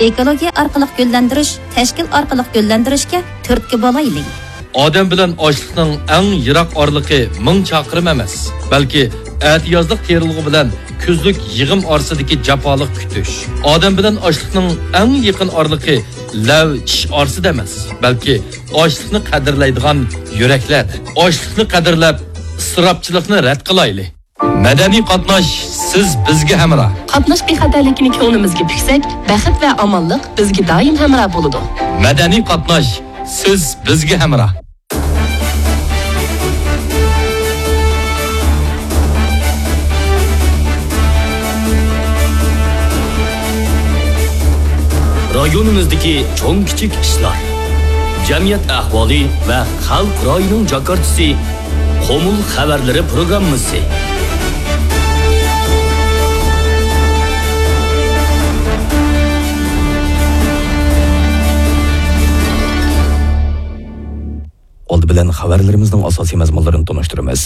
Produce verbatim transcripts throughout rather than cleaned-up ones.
ئېكولوگىيە ئارقىلىق گۈللەندۈرۈش، تەشكىل ئارقىلىق گۈللەندۈرۈشكە تۈرتكە بولايلى. ئادەم بىلەن ئاشلىقنىڭ ئەڭ يىراق ئارىلىقى مىڭ چاقىرىم ئەمەس، بەلكى ئەتىيازلىق تېرىلغۇ بىلەن كۈزلۈك يىغىم ئارىسىدىكى جاپالىق كۈتۈش. ئادەم بىلەن ئاشلىقنىڭ ئەڭ يېقىن ئارىلىقى لەۋ چىش ئارىسىدا ئەمەس، بەلكى ئاشلىقنى قەدىرلەيدىغان يۈرەكلەردە. ئاشلىقنى قەدىرلەپ، ئىسراپچىلىقنى رەت قىلايلى. مەدەنىي قاتناش، سىز بىزگە ھەمراھ. قاتناش بىخەتەرلىكىنى كۆڭلىمىزگە پۈكسەك، بەخت ۋە ئامانلىق بىزگە دائىم ھەمراھ بولىدۇ. مەدەنىي قاتناش، سىز بىزگە ھەمراھ. رايونىمىزدىكى چوڭ-كىچىك ئىشلار، جەمئىيەت ئەھۋالى ۋە خەلق رايىنىڭ جاكارچىسى، قۇمۇل خەۋەرلىرى پروگراممىسى. ئالدى بىلەن خەۋەرلىرىمىزنىڭ ئاساسىي مەزمۇنلىرىنى تونۇشتۇرىمىز.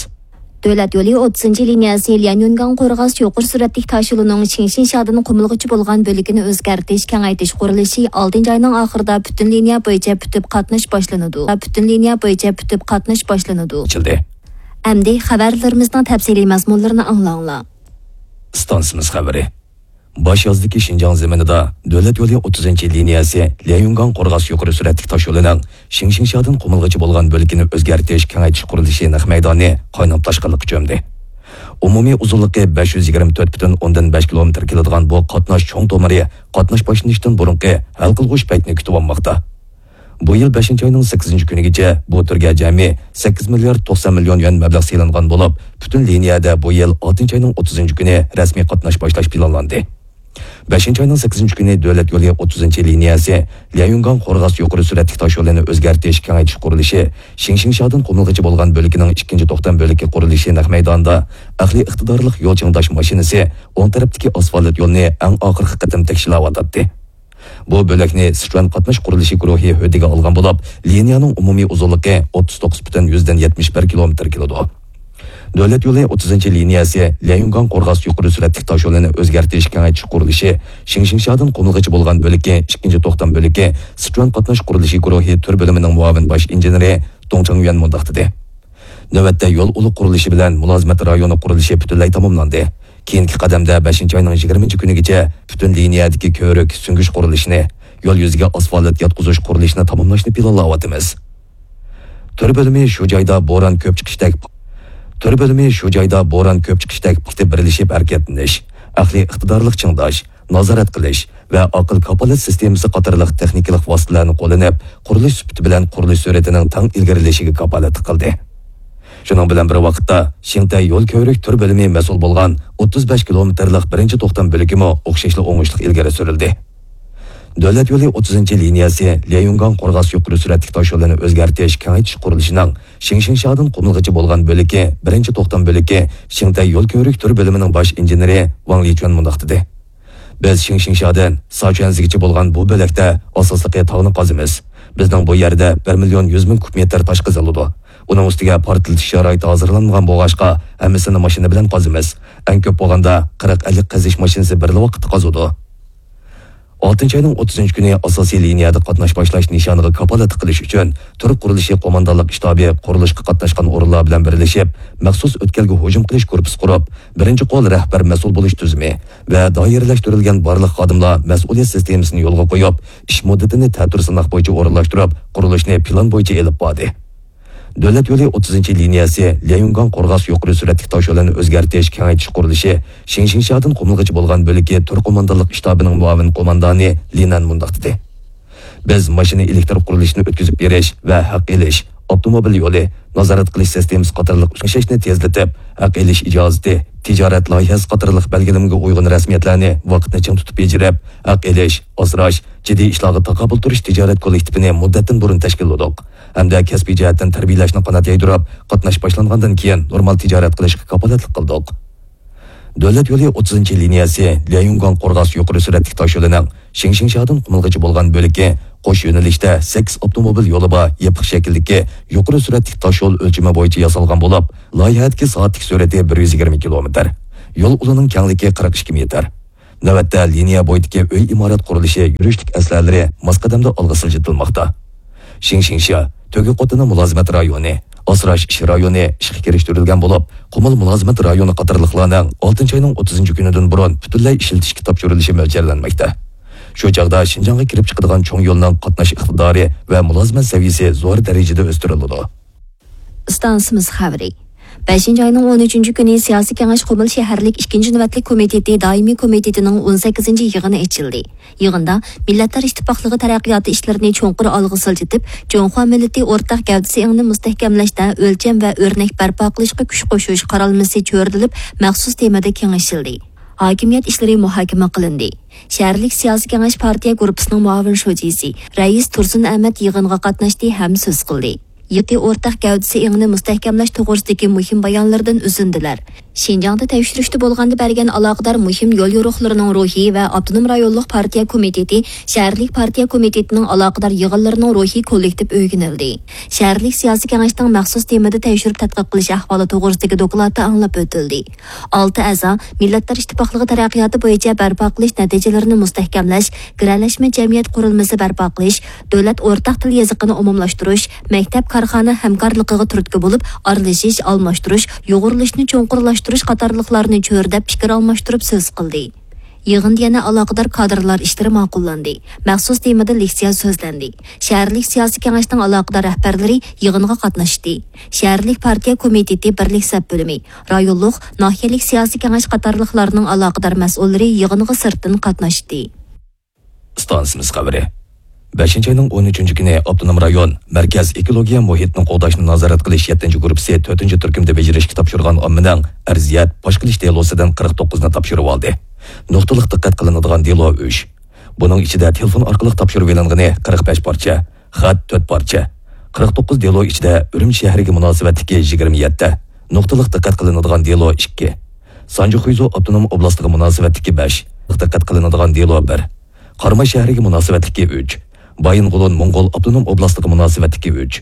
دۆلەت يولى ئوتتۇزىنچى لىنىيەسى ليەنيۈنگاڭ قورغاس يۇقىرى سۈرئەتلىك تاشيولىنىڭ شىڭشىڭشادىن قۇمۇلغىچە بولغان بۆلىكىنى ئۆزگەرتىش، كېڭەيتىش قۇرۇلۇشى ئالتىنچى ئاينىڭ ئاخىرىدا پۈتۈن لىنىيە بويىچە پۈتۈپ قاتناش باشلىنىدۇ. پۈتۈن لىنىيە بويىچە پۈتۈپ قاتناش باشلىنىدۇ. ئېچىلدى. ئەمدى خەۋەرلىرىمىزنىڭ تەپسىلىي مەزمۇنلىرىنى ئاڭلاڭلار. ئىستانسىمىز خەۋىرى. باش يازدىكى شىنجاڭ زېمىنىدا دۆلەت يولى ئوتتۇزىنچى لىنىيەسى ليەنيۈنگاڭ قورغاس يۇقىرى سۈرئەتلىك تاشيولىنىڭ شىڭشىڭشادىن قۇمۇلغىچە بولغان بۆلىكىنى ئۆزگەرتىش، كېڭەيتىش قۇرۇلۇشى نەق مەيدانى قايناپ تاشقىنلىققا چۆمدى. ئومۇمىي ئۇزۇنلۇقى بەش يۈز يىگىرمە تۆت پۈتۈن ئوندىن بەش كىلومېتىر كېلىدىغان بۇ قاتناش چوڭ تومۇرى قاتناش باشلىنىشتىن بۇرۇنقى ھەل قىلغۇچ پەيتنى كۈتۈۋالماقتا. بۇ يىل بەشىنچى ئاينىڭ سەككىزىنچى كۈنىگىچە بۇ تۈرگە جەمئىي سەككىز مىليارد توقسان مىليون يۈەن مەبلەغ سېلىنغان بولۇپ، پۈتۈن لىنىيەدە بۇ يىل ئالتىنچى ئاينىڭ ئوتتۇزىنچى كۈنى رەسمىي قاتناش باشلاش پىلانلاندى. بەشىنچى ئاينىڭ سەككىزىنچى كۈنى دۆلەت يولى ئوتتۇزىنچى لىنىيەسى ليەنيۈنگاڭ قورغاس يۇقىرى سۈرئەتلىك تاشيولىنى ئۆزگەرتىش، كېڭەيتىش قۇرۇلۇشى شىڭشىڭشادىن قۇمۇلغىچە بولغان بۆلىكىنىڭ ئىككىنچى توختام بۆلىكى قۇرۇلۇشى نەق مەيدانىدا ئەقلىي ئىقتىدارلىق يول چىڭداش ماشىنىسى ئوڭ تەرەپتىكى ئاسفالت يولنى ئەڭ ئاخىرقى قېتىم تەكشىلەۋاتاتتى. بۇ بۆلەكنى سىچۈەن قاتناش قۇرۇلۇشى گۇرۇھى ھۆددىگە ئالغان بولۇپ، لىنىيەنىڭ ئومۇمىي ئۇزۇنلۇقى ئوتتۇز توققۇز پۈتۈن يۈزدىن يەتمىش بىر كىلومېتىر كېلىدۇ. دۆلەت يولى ئوتتۇزىنچى لىنىيەسى ليەنيۈنگاڭ قورغاس يۇقىرى سۈرئەتلىك تاشيولىنى ئۆزگەرتىش، كېڭەيتىش قۇرۇلۇشى شىڭشىڭشادىن قۇمۇلغىچە بولغان بۆلىكى ئىككىنچى توختام بۆلىكى سىچۈەن قاتناش قۇرۇلۇشى گۇرۇھى تۈر بۆلۈمىنىڭ مۇئاۋىن باش ئىنژېنېرى دۇڭ چاڭيۈەن مۇنداق دېدى. نۆۋەتتە يول ئۇلۇغ قۇرۇلۇشى بىلەن مۇلازىمەت رايونى قۇرۇلۇشى پۈتۈنلەي تاماملاندى. كېيىنكى قەدەمدە بەشىنچى ئاينىڭ يىگىرمىنچى كۈنىگىچە پۈتۈن لىنىيەدىكى كۆۋرۈك سۈڭگۈش قۇرۇلۇشىنى، يول يۈزىگە ئاسفالت ياتقۇزۇش قۇرۇلۇشىنى تاماملاشنى پىلانلاۋاتىمىز. تۈر بۆلۈمى شۇ جايدا بوران كۆپ چىقىشتەك، تۈر بۆلۈمى شۇ جايدا بوران كۆپ چىقىشتەك پۇختا بىرلىشىپ ھەرىكەتلىنىش، ئەقلىي ئىقتىدارلىق چىڭداش، نازارەت قىلىش ۋە ئاقىل كاپالەت سىستېمىسى قاتارلىق تېخنىكىلىق ۋاسىتىلەرنى قوللىنىپ، قۇرۇلۇش سۈپىتى بىلەن قۇرۇلۇش سۈرئىتىنىڭ تەڭ ئىلگىرىلىشىگە كاپالەتلىك قىلدى. شۇنىڭ بىلەن بىر ۋاقىتتا، شىڭتەي يول كۆۋرۈك تۈر بۆلۈمى مەسئۇل بولغان ئوتتۇز بەش كىلومېتىرلىق بىرىنچى توختام بۆلىكىمۇ ئوخشاشلا ئوڭۇشلۇق ئىلگىرى سۈرۈلدى. دۆلەت يولى ئوتتۇزىنچى لىنىيەسى ليەنيۈنگاڭ قورغاس يۇقىرى سۈرئەتلىك تاشيولىنى ئۆزگەرتىش، كېڭەيتىش قۇرۇلۇشىنىڭ شىڭشىڭشادىن قۇمۇلغىچە بولغان بۆلىكى، بىرىنچى توختام بۆلىكى، شىڭتەي يول كۆۋرۈك تۈر بۆلۈمىنىڭ باش ئىنژېنېرى ۋاڭ لىچۈەن مۇنداق دېدى. بىز شىڭشىڭشادىن ساچۈەنزىگىچە بولغان بۇ بۆلەكتە ئاساسلىقى تاغنى قازىمىز. بىزنىڭ بۇ يەردە بىر مىليون يۈز مىڭ كۇب مېتىر تاش قېزىلىدۇ. ئۇنىڭ ئۈستىگە پارتلىتىش شارائىتى ھازىرلانمىغان بولغاچقا، ھەممىسىنى ماشىنا بىلەن قازىمىز. ئەڭ كۆپ بولغاندا قىرىق ئەللىك قېزىش ماشىنىسى بىرلا ۋاقىتتا قازىدۇ. ئالتىنچى ئاينىڭ ئوتتۇزىنچى كۈنى ئاساسىي لىنىيەدە قاتناش باشلاش نىشانىغا كاپالەتلىك قىلىش ئۈچۈن، تۈرك قۇرۇلۇشى قوماندانلىق شتابى قۇرۇلۇشقا قاتناشقان ئورۇنلار بىلەن بىرلىشىپ، مەخسۇس ئۆتكەلگە ھۇجۇم قىلىش گۇرۇپپىسى قۇرۇپ، بىرىنچى قول رەھبەر مەسئۇل بولۇش تۈزۈمى ۋە دائىرىلەشتۈرۈلگەن بارلىق خادىملار مەسئۇلىيەت سىستېمىسىنى يولغا قويۇپ، ئىش مۇددىتىنى تەتۈر سىناق بويىچە ئورۇنلاشتۇرۇپ، قۇرۇلۇشنى پىلان بويىچە ئېلىپ باردى. دۆلەت يولى ئوتتۇزىنچى لىنىيەسى ليەنيۈنگاڭ قورغاس يۇقىرى سۈرئەتلىك تاشيولىنى ئۆزگەرتىش، كېڭەيتىش قۇرۇلۇشى شىڭشىڭشادىن قۇمۇلغىچە بولغان بۆلىكى تۈر قوماندانلىق شتابىنىڭ مۇئاۋىن قوماندانى لىنەن مۇنداق دېدى: بىز ماشىنا ئېلېكتر قۇرۇلۇشىنى ئۆتكۈزۈپ بېرىش ۋە ھەق ئېلىش، ئاپتوموبىل يولى، نازارەت قىلىش سىستېمىسى قاتارلىق ئىشلەشنى تېزلىتىپ، ھەق ئېلىش ئىجازىتى، تىجارەت لايىھەسى قاتارلىق بەلگىلىمىگە ئۇيغۇن رەسمىيەتلەرنى ۋاقىتنى چىڭ تۇتۇپ بېجىرىپ، ھەق ئېلىش، ئاسراش، جىددىي ئىشلارغا تاقابىل تۇرۇش تىجارەت كوللېكتىپىنى مۇددەتتىن بۇرۇن تەشكىللىدۇق ھەمدە كەسپىي جەھەتتىن تەربىيەلەشنى قانات يايدۇرۇپ، قاتناش باشلانغاندىن كېيىن نورمال تىجارەت قىلىشقا كاپالەتلىك قىلدۇق. دۆلەت يولى ئوتتۇزىنچى لىنىيەسى ليەنيۈنگاڭ قورغاس يۇقىرى سۈرئەتلىك تاشيولىنىڭ شىڭشىڭشادىن قۇمۇلغىچە بولغان بۆلىكى قوش يۆنىلىشتە سەككىز ئاپتوموبىل يولى بار يېپىق شەكىلدىكى يۇقىرى سۈرئەتلىك تاشيول ئۆلچىمى بويىچە ياسالغان بولۇپ، لايىھەدىكى سائەتلىك سۈرئىتى بىر يۈز يىگىرمە كىلومېتىر، يول ئۇلىنىڭ كەڭلىكى قىرىق ئىككى مېتىر. نۆۋەتتە لىنىيە بويىدىكى ئۆي ئىمارەت قۇرۇلۇشى يۈرۈشلۈك ئەسلىھەلىرى ماس قەدەمدە ئالغا سىلجىتىلماقتا. شىڭشىڭشيا، تۆگە قوتىنى مۇلازىمەت رايونى، ئاسراش ئىش رايونى ئىشقا كىرىشتۈرۈلگەن بولۇپ، قۇمۇل مۇلازىمەت رايونى قاتارلىقلارنىڭ ئالتىنچى ئاينىڭ ئوتتۇزىنچى كۈنىدىن بۇرۇن پۈتۈنلەي ئىشلىتىشكە تاپشۇرۇلۇشى مۆلچەرلەنمەكتە. شۇ چاغدا شىنجاڭغا كىرىپ چىقىدىغان چوڭ يولنىڭ قاتناش ئىقتىدارى ۋە مۇلازىمەت سەۋىيەسى زور دەرىجىدە ئۆستۈرۈلىدۇ. ئىستانسىمىز خەۋىرى. بەشىنچى ئاينىڭ ئون ئۈچىنچى كۈنى سىياسىي كېڭەش قۇمۇل شەھەرلىك ئىككىنچى نۆۋەتلىك كومىتېتى دائىمىي كومىتېتىنىڭ ئون سەككىزىنچى يىغىنى ئېچىلدى. يىغىندا مىللەتلەر ئىتتىپاقلىقى تەرەققىياتى ئىشلىرىنى چوڭقۇر ئالغا سىلجىتىپ، جۇڭخۇا مىللىتى ئورتاق گەۋدىسى ئېڭىنى مۇستەھكەملەشتە ئۆلچەم ۋە ئۆرنەك بەرپا قىلىشقا كۈچ قوشۇش قارالمىسى چۆرىدىلىپ، مەخسۇس تېمىدا كېڭىشىلدى. ھاكىمىيەت ئىشلىرى مۇھاكىمە قىلىندى. شەھەرلىك سىياسىي كېڭەش پارتىيە گۇرۇپپىسىنىڭ مۇئاۋىن شۇجىسى، رەئىس تۇرسۇن ئەمەت يىغىنغا قاتناشتى ھەم سۆز قىلدى. يېقى ئورتاق گەۋدىسى ئېڭىنى مۇستەھكەملەش توغرىسىدىكى مۇھىم بايانلىرىدىن ئۈزۈندىلەر. شىنجاڭدا تەكشۈرۈشتە بولغاندا بەرگەن ئالاقىدار مۇھىم يول يورۇقلىرىنىڭ روھى ۋە ئاپتونوم رايونلۇق پارتىيە كومىتېتى، شەھەرلىك پارتىيە كومىتېتىنىڭ ئالاقىدار يىغىنلىرىنىڭ روھى كوللېكتىپ ئۆگىنىلدى. شەھەرلىك سىياسىي كېڭەشنىڭ مەخسۇس تېمىدا تەكشۈرۈپ تەتقىق قىلىش ئەھۋالى توغرىسىدىكى دوكلاتى ئاڭلاپ ئۆتۈلدى. ئالتە ئەزا مىللەتلەر ئىتتىپاقلىقى تەرەققىياتى بويىچە بەرپا قىلىش نەتىجىلىرىنى مۇستەھكەملەش، گىرەلەشمە جەمئىيەت قۇرۇلمىسى بەرپا قىلىش، دۆلەت ئورتاق تىل يېزىقىنى ئومۇملاشتۇرۇش، مەكتەپ، كارخانا ھەمكارلىقىغا تۈرتكە بولۇپ، ئارىلىشىش، ئالماشتۇرۇش، يۇغۇرۇلۇشنى چوڭقۇرلاشتۇرۇش قاتارلىقلارنى چۆرىدەپ پىكىر ئالماشتۇرۇپ سۆز قىلدى. يىغىندا يەنە ئالاقىدار كادىرلار ئىشلىرى ماقۇللاندى. مەخسۇس تېمىدا لېكسىيە سۆزلەندى. شەھەرلىك سىياسىي كېڭەشنىڭ ئالاقىدار رەھبەرلىرى يىغىنغا قاتناشتى. شەھەرلىك پارتىيە كومىتېتى بىرلىك سەپ بۆلۈمى، رايونلۇق، ناھىيەلىك سىياسىي كېڭەش قاتارلىقلارنىڭ ئالاقىدار مەسئۇللىرى يىغىنغا سىرتتىن قاتناشتى. ئىستانسىمىز خەۋىرى. بەشىنچى ئاينىڭ ئون ئۈچىنچى كۈنى ئاپتونوم رايون مەركەز ئېكولوگىيە مۇھىتنى قوغداشنى نازارەت قىلىش يەتتىنچى گۇرۇپپىسى تۆتىنچى تۈركۈمدە بېجىرىشكە تاپشۇرغان ئاممىنىڭ ئەرزىيەت پاش قىلىش دېلوسىدىن قىرىق توققۇزنى تاپشۇرۇۋالدى. نۇقتىلىق دىققەت قىلىنىدىغان دېلو ئۈچ. بۇنىڭ ئىچىدە تېلېفون ئارقىلىق تاپشۇرۇۋېلىنغىنى قىرىق بەش پارچە، خەت تۆت پارچە. قىرىق توققۇز دېلو ئىچىدە ئۈرۈمچى شەھىرىگە مۇناسىۋەتلىكى يىگىرمە يەتتە، نۇقتىلىق دىققەت قىلىنىدىغان دېلو ئىككى. سانجى خۇيزۇ ئاپتونوم ئوبلاستىغا مۇناسىۋەتلىكى بەش، دىققەت قىلىنىدىغان دېلو بىر. قاراماي شەھىرىگە مۇناسىۋەتلىكى ئۈچ، بايىنغولىن موڭغۇل ئاپتونوم ئوبلاستىغا مۇناسىۋەتلىكى ئۈچ،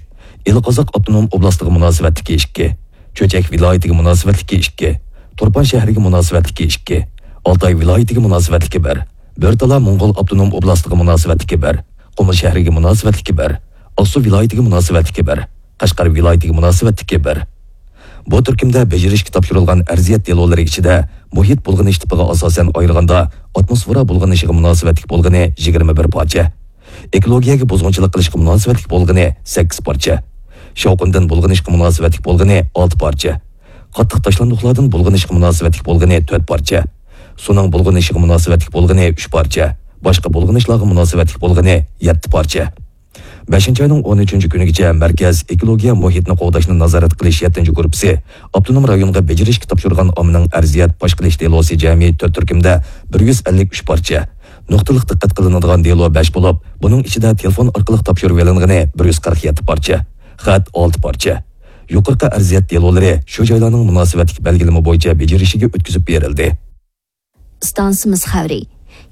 ئىلى قازاق ئاپتونوم ئوبلاستىغا مۇناسىۋەتلىكى ئىككى، چۆچەك ۋىلايىتىگە مۇناسىۋەتلىكى ئىككى، تۇرپان شەھىرىگە مۇناسىۋەتلىكى ئىككى، ئالتاي ۋىلايىتىگە مۇناسىۋەتلىكى بىر، بۆرتالا موڭغۇل ئاپتونوم ئوبلاستىغا مۇناسىۋەتلىكى بىر، قۇمۇل شەھىرىگە مۇناسىۋەتلىكى بىر، ئاقسۇ ۋىلايىتىگە مۇناسىۋەتلىكى بىر، قەشقەر ۋىلايىتىگە مۇناسىۋەتلىكى بىر. بۇ تۈركۈمدە بېجىرىشكە تاپشۇرۇلغان ئەرزىيەت دېلولىرى ئىچىدە مۇھىت بۇلغىنىش تىپىغا ئاساسەن ئايرىغاندا، ئاتموسفېرا بۇلغىنىشىغا مۇناسىۋەتلىك بولغىنى يىگىرمە بىر پارچە، ئېكولوگىيەگە بۇزغۇنچىلىق قىلىشقا مۇناسىۋەتلىك بولغىنى سەككىز پارچە، شاۋقۇندىن بۇلغىنىشقا مۇناسىۋەتلىك بولغىنى ئالتە پارچە، قاتتىق تاشلاندۇقلاردىن بۇلغىنىشقا مۇناسىۋەتلىك بولغىنى تۆت پارچە، سۇنىڭ بۇلغىنىشىغا مۇناسىۋەتلىك بولغىنى ئۈچ پارچە، باشقا بۇلغىنىشلارغا مۇناسىۋەتلىك بولغىنى يەتتە پارچە. بەشىنچى ئاينىڭ ئون ئۈچىنچى كۈنىگىچە مەركەز ئېكولوگىيە مۇھىتنى قوغداشنى نازارەت قىلىش يەتتىنچى گۇرۇپپىسى ئاپتونوم رايونغا بېجىرىشكە تاپشۇرغان ئاممىنىڭ ئەرزىيەت پاش قىلىش دېلوسى جەمئىي تۆت تۈركۈمدە بىر يۈز ئەللىك ئۈچ پارچە، نۇقتىلىق دىققەت قىلىنىدىغان دېلو بەش بولۇپ، بۇنىڭ ئىچىدە تېلېفون ئارقىلىق تاپشۇرۇۋېلىنغىنى بىر يۈز قىرىق يەتتە پارچە، خەت ئالتە پارچە. يۇقىرىقى ئەرزىيەت دېلولىرى شۇ جايلارنىڭ مۇناسىۋەتلىك بەلگىلىمە بويىچە بېجىرىشىگە ئۆتكۈزۈپ بېرىلدى. ئىستانسىمىز خەۋىرى.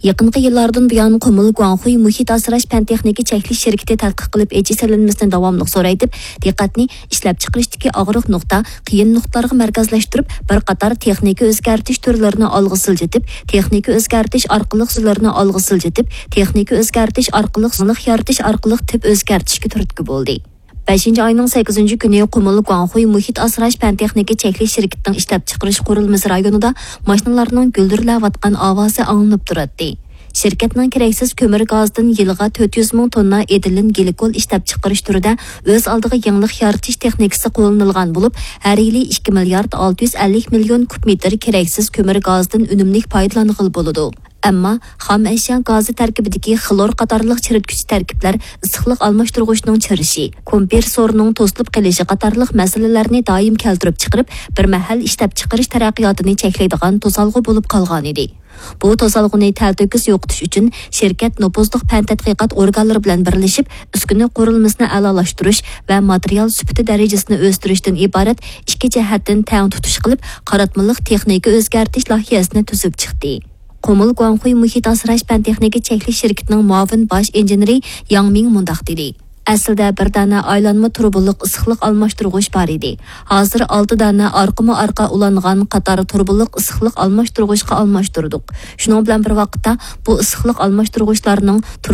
يېقىنقى يىللاردىن بۇيان، قۇمۇل گۇاڭخۇي مۇھىت ئاسراش پەن تېخنىكا چەكلىك شىركىتى تەتقىق قىلىپ، ئېچىش سېلىنمىسىنى داۋاملىق زورايتىپ، دىققەتنى ئىشلەپچىقىرىشتىكى ئاغرىق نۇقتا، قىيىن نۇقتىلارغا مەركەزلەشتۈرۈپ، بىر قاتار تېخنىكا ئۆزگەرتىش تۈرلىرىنى ئالغا سىلجىتىپ، تېخنىكا ئۆزگەرتىش ئارقىلىق تۈرلىرىنى ئالغا سىلجىتىپ، تېخنىكا ئۆزگەرتىش ئارقىلىق زىنلىق يارىتىش ئارقىلىق تىپ ئۆزگەرتىشكە تۈرتكە بولدى. بەشىنچى ئاينىڭ سەككىزىنچى كۈنى قۇمۇل گۇاڭخۇي مۇھىت ئاسراش پەن تېخنىكا چەكلىك شىركىتىنىڭ ئىشلەپچىقىرىش قۇرۇلمىسى رايونىدا ماشىنىلارنىڭ گۈلدۈرلەۋاتقان ئاۋازى ئاڭلىنىپ تۇراتتى. شىركەتنىڭ كېرەكسىز كۆمۈر گازىدىن يىلىغا تۆت يۈز مىڭ توننا ئېتىلېن گلىكول ئىشلەپچىقىرىش تۈرىدە ئۆز ئالدىغا يېڭىلىق يارىتىش تېخنىكىسى قوللىنىلغان بولۇپ، ھەر يىلى ئىككى مىليارد ئالتە يۈز ئەللىك مىليون كۇب مېتىر كېرەكسىز كۆمۈر گازىدىن ئۈنۈملۈك پايدىلانغىلى بولىدۇ. ئەمما خام ئەشيا گازى تەركىبىدىكى خلور قاتارلىق چىرىتكۈچى تەركىبلەر ئىسسىقلىق ئالماشتۇرغۇچنىڭ چىرىشى، كومپرېسسورنىڭ توسۇلۇپ قېلىشى قاتارلىق مەسىلىلەرنى دائىم كەلتۈرۈپ چىقىرىپ، بىر مەھەل ئىشلەپچىقىرىش تەرەققىياتىنى چەكلەيدىغان توسالغۇ بولۇپ قالغانىدى. بۇ توسالغۇنى تەلتۆكۈس يوقىتىش ئۈچۈن، شىركەت نوپۇزلۇق پەن تەتقىقات ئورگانلىرى بىلەن بىرلىشىپ، ئۈسكۈنە قۇرۇلمىسىنى ئەلالاشتۇرۇش ۋە ماتېرىيال سۈپىتى دەرىجىسىنى ئۆستۈرۈشتىن ئىبارەت ئىككى جەھەتتىن تەڭ تۇتۇش قىلىپ، قاراتمىلىق تېخنىكا ئۆزگەرتىش لايىھەسىنى تۈزۈپ چىقتى. قۇمۇل گۇاڭخۇي مۇھىت ئاسراش پەن تېخنىكا چەكلىك شىركىتىنىڭ مۇئاۋىن باش ئىنژېنېرى ياڭ مىڭ مۇنداق دېدى. ئەسلىدە بىر دانە ئايلانما تۇرۇبىلىق ئىسسىقلىق ئالماشتۇرغۇچ بار ئىدى. ھازىر ئالتە دانە ئارقىمۇ ئارقا ئۇلانغان قاتار تۇرۇبىلىق ئىسسىقلىق ئالماشتۇرغۇچقا ئالماشتۇردۇق. شۇنىڭ بىلەن بىر ۋاقىتتا، بۇ ئىسسىقلىق ئالماشتۇرغۇچلارنىڭ تۇرۇبا